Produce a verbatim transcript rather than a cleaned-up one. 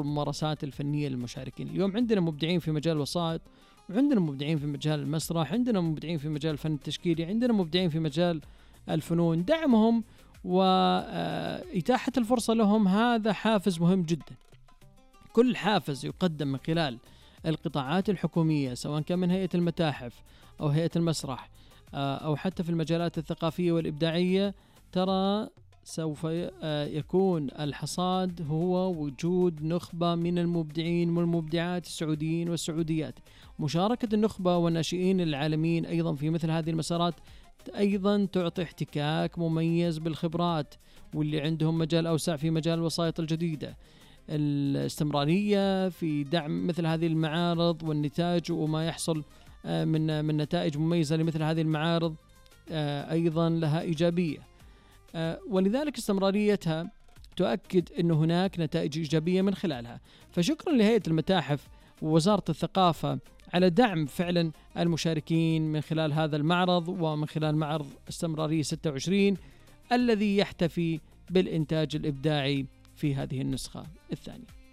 الممارسات الفنية للمشاركين. اليوم عندنا مبدعين في مجال الوسائط، وعندنا مبدعين في مجال المسرح، عندنا مبدعين في مجال الفن التشكيلي، عندنا مبدعين في مجال الفنون. دعمهم وإتاحة الفرصة لهم هذا حافز مهم جدا. كل حافز يقدم من خلال القطاعات الحكومية، سواء كان من هيئة المتاحف أو هيئة المسرح أو حتى في المجالات الثقافية والإبداعية، ترى سوف يكون الحصاد هو وجود نخبة من المبدعين والمبدعات السعوديين والسعوديات. مشاركة النخبة والناشئين العالميين أيضا في مثل هذه المسارات أيضا تعطي احتكاك مميز بالخبرات، واللي عندهم مجال أوسع في مجال الوسائط الجديدة. الاستمرارية في دعم مثل هذه المعارض والنتاج وما يحصل من من نتائج مميزة لمثل هذه المعارض أيضا لها إيجابية، ولذلك استمراريتها تؤكد أن هناك نتائج إيجابية من خلالها. فشكرا لهيئة المتاحف ووزارة الثقافة على دعم فعلا المشاركين من خلال هذا المعرض، ومن خلال معرض استمرارية ستة وعشرين الذي يحتفي بالإنتاج الإبداعي في هذه النسخة الثانية.